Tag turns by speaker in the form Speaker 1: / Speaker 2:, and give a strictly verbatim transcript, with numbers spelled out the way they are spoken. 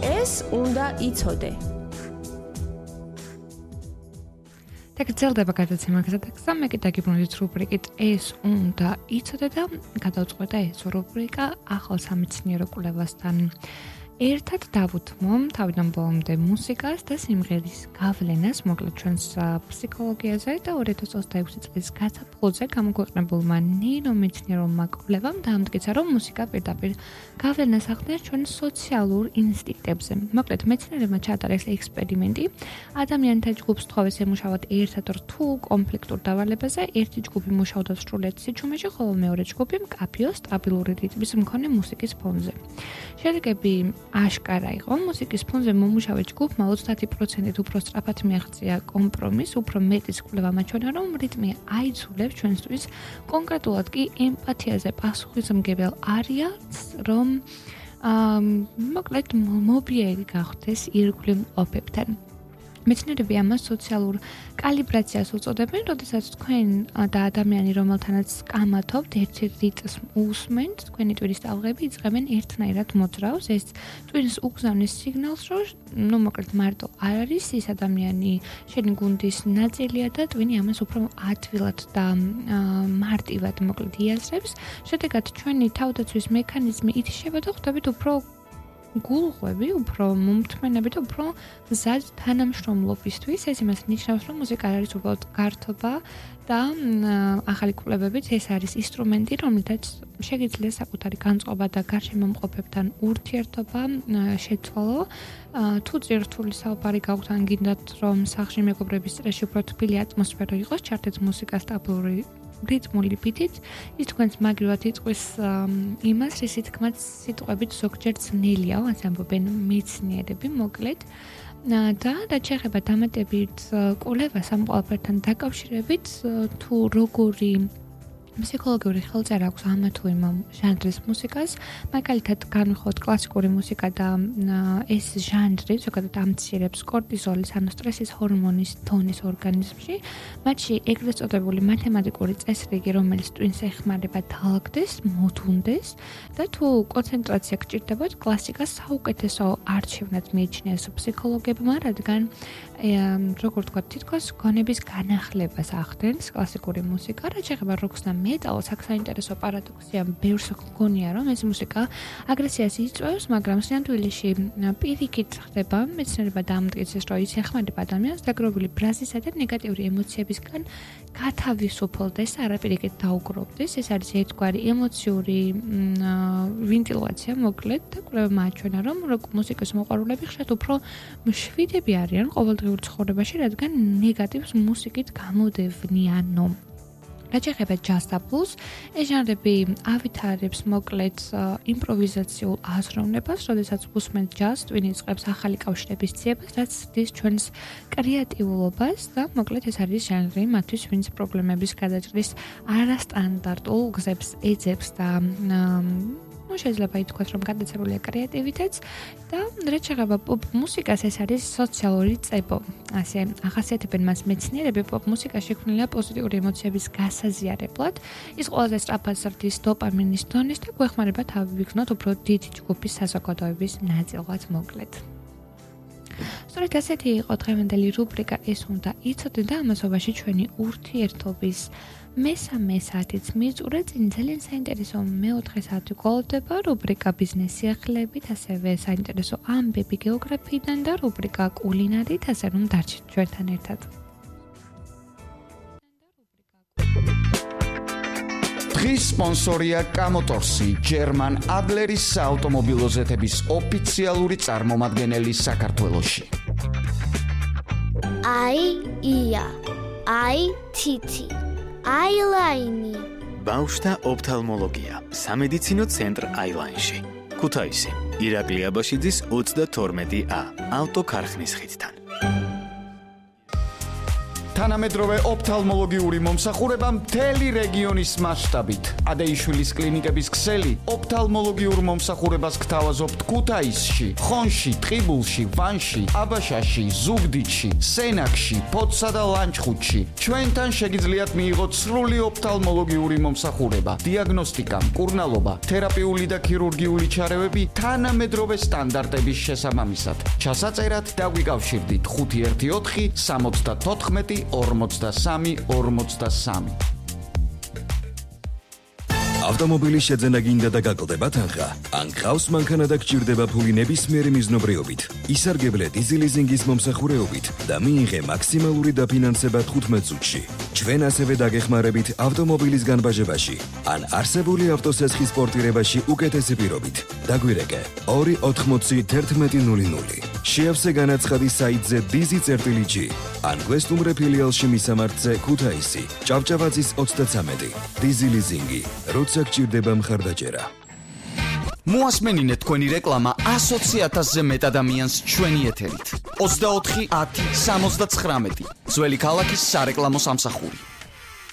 Speaker 1: ეს უნდა იცოდე.
Speaker 2: და გრძელდება გადაცემა გზადაგზა, მე კიდე გიბრუნდით რუბრიკით ეს უნდა იცოდე და გადავწყვეტა ეს რუბრიკა ახალ სამეცნიერო კვლევასთან. ერთად დავუთმო თავიდან ბოლომდე მუსიკას და სიმღერის გავლენას, მოკლედ ჩვენს ფსიქოლოგიაზე და ორი ათას ოცდაექვსი წლის გაზაფხულზე გამოქვეყნებულმა ნეირომეცნიერულმა კვლევამ დაამტკიცა, რომ მუსიკა პირდაპირ გავლენას ახდენს ჩვენ სოციალურ ინსტინქტებზე. მოკლედ მეცნიერებმა ჩაატარეს ექსპერიმენტი, ადამიანთა ჯგუფს თხოვეს ემუშავოთ ერთად რთულ კონფლიქტურ დავალებაზე, ერთი ჯგუფი მუშაობდა სრულიად სიჩუმეში, ხოლო მეორე ჯგუფი მკაფიო სტაბილური რიტმის მქონე მუსიკის ფონზე. შედეგები აშკარა იყო, მუსიკის ფონზე მომუშავე ჯგუფმა ოცდაათი პროცენტით უფრო სწრაფად მიაღწია კომპრომისს, უფრო მეტიც კვლევამ აჩვენა, რომ რიტმი აიძულებს ჩვენთვის კონკრეტულად კი ემპათიაზე პასუხისმგებელ არიან, რომ აა მოკლედ მობიერი გახდეს ირგვლივ მყოფებთან. მეცნიერები ამას სოციალურ კალიბრაციას უწოდებენ, როდესაც თქვენ და ადამიანი, რომელთანაც კამათობთ, ერთი რიტმს უსმენთ, თქვენი ტვინის ტალღები იწყებენ ერთნაირად მოძრაოს. ეს ტვინს უგზავნის სიგნალს, რომ ნუ მოკლედ მარტო არ არის ის ადამიანი შენი გუნდის ნაწილია და ტვინი ამას უფრო ადვილად და მარტივად მოკლედ იაზრებს. შედეგად ჩვენი თავდაცვის მექანიზმი ითიშება და ხვდებით უფრო გულღვები, უფრო მომთმენები და უფრო მზად თანამშრომლობისთვის. ეს იმას ნიშნავს, რომ მუსიკა არ არის უბრალოდ გართობა და ახალი კვლევებით ეს არის ინსტრუმენტი, რომელთაც შეგიძლია საკუთარი განწყობა და გარშემო მყოფებთან ურთიერთობა შეცვალო. თუ ძირთული საუბარი გაქვთ, ან გინდათ, რომ სახლში მეგობრების წრეში უფრო თბილი ატმოსფერო იყოს, ჩართეთ მუსიკა სტაბილური რიტმული ბიტით, ის თქვენს მაგრივად იწვის იმას, რისი თქმაც სიტყვებით ზოგჯერ ძნელია, ასე ამბობენ მეცნიერები, მოკლედ. და რაც შეეხება დამატებით კვლევას ამ ყველაფერთან დაკავშირებით, თუ როგორი ფსიქოლოგიური ხელწერა აქვს ამ თუ იმ ჟანრის მუსიკას, მაგალითად განვიხილოთ კლასიკური მუსიკა და ეს ჟანრი ზოგადად ამცირებს კორტიზოლის, ანუ სტრესის ჰორმონის დონის ორგანიზმში. მათში ეგრეთ წოდებული მათემატიკური წესრიგი, რომელიც ტვინს ეხმარება დაალაგდეს, მოდუნდეს და თუ კონცენტრაცია გჭირდებათ, კლასიკას საუკეთესო არჩევნად მიიჩნიეს ფსიქოლოგებმა, რადგან როგორ ვთქვათ, თითქოს გონების განახლებას ახდენს კლასიკური მუსიკა, რაც შეეხება როკს და მეტალს, აქ საინტერესო პარადოქსია, ბევრს გონია, რომ ეს მუსიკა აგრესიას იწვევს, მაგრამ სინამდვილეში პირიქით ხდება, მეცნიერება დაამტკიცეს, რომ ის ეხმარება ადამიანს დაგროვილი ბრაზისა და ნეგატიური ემოციებისგან გათავისუფლდეს, არაპირიქით დაუგროვდეს. ეს არის ერთგვარი ემოციური ვენტილაცია, მოკლედ, და კვლევებმა აჩვენა, რომ როკ მუსიკის მოყვარულები ხშირად უფრო მშვიდები არიან ყოველდღიურ ცხოვრებაში, რადგან ნეგატივს მუსიკით გამოდევნიანო. რაც შეეხება ჯაზს და ბლუზს, ეს ჟანრები ავითარებს მოკლედ იმპროვიზაციულ აზროვნებას, როდესაც უსმენთ ჯაზს, ტვინი იწყებს ახალი კავშირების ძიებას, რაც ზრდის ჩვენს კრეატიულობას და მოკლედ ეს არის ჟანრი მათთვის, ვინც პრობლემების გადაჭრის არასტანდარტულ გზებს ეძებს და ну შეიძლება ითქვას, რომ გადაცებულია კრეატივიტეტს და რაც შეეხება პოპ მუსიკას, ეს არის სოციალური წებო. ასე ახასიათებენ მას მეცნიერები, პოპ მუსიკა შექმნილია პოზიტიური ემოციების გასაზიარებლად. ის ყველაზე სწრაფად ზრდის დოპამინის დონეს და გვეხმარება თავი ვიქნოთ უფრო დიდი ჯგუფის საზოგადოების ნაწილად, მოკლედ. სწორედ ასეთი იყო დღევანდელი რუბრიკა ეს უნდა იცოდე და ამასობაში ჩვენი ურთიერთობის მესამე საათიც მიწურა, წინ ძალიან საინტერესო მეოთხე საათი გვალდება, რუბრიკა ბიზნეს სიახლეებით, ასევე საინტერესო ამბები გეოგრაფიიდან და რუბრიკა კულინარით, ასე რომ დარჩით ჩვენთან ერთად.
Speaker 3: დღის სპონსორია კამოტორსი, ჯერმან ადლერის საავტომობილო ზეთების ოფიციალური წარმომადგენელი საქართველოში.
Speaker 4: აი ია, აი თითი, აილაინი.
Speaker 5: ბავშვთა ოფთალმოლოგია, სამედიცინო ცენტრ აილაინში. ქუთაისი, ირაკლი აბაშიძის ოცდათორმეტი ა, ავტოქარხნის ხიდთან.
Speaker 3: თანამედროვე ოფთალმოლოგიური მომსახურება მთელი რეგიონის მასშტაბით. ადეიშვილის კლინიკების ქსელი ოფთალმოლოგიურ მომსახურებას გთავაზობთ ქუთაისში, ხონში, ტყიბულში, ვანში, აბაშაში, ზუგდიდში, სენაკში, ფოთსა და ლანჩხუთში. ჩვენთან შეგიძლიათ მიიღოთ სრული ოფთალმოლოგიური მომსახურება, დიაგნოსტიკა, მკურნალობა, თერაპიული და ქირურგიული ჩარევები თანამედროვე სტანდარტების შესაბამისად. ჩასაწერად დაგვიკავშირდით ხუთი ერთი ოთხი სამოცდათოთხმეტი ორმოცდასამი ორმოცდასამი.
Speaker 6: ავტომობილის შეძენა გინდა და გაკლდება თანხა? ან გყავს მანქანა და გჭირდება ფული ნებისმიერი მიზნობრიობით? ისარგებლე დიზელიზინგის მომსახურეობით და მიიღე მაქსიმალური დაფინანსება თხუთმეტ წუთში. ჩვენ ასევე დაგეხმარებით ავტომობილის განბაჟებაში ან არსებული ავტოსესხის პორტირებაში უკეთესი პირობით. დაგვირეკე ორი ოთხმოცი თერთმეტი ნული ნული. შეავსე განაცხადი საიტზე dizi.gi ან გვესტუმრე ფილიალში მისამართზე ქუთაისი, ჭავჭავაძის ოცდაცამეტი. დიზელიზინგი, როცა გჭირდება მხარდაჭერა.
Speaker 3: მოასმენინეთ თქვენი რეკლამა ასოცი ათასზე მეტ ადამიანს ჩვენი ეთერით. ოცდაოთხი ათი სამოცდაცხრამეტი. ძველი ქალაქის სარეკლამო სამსახური.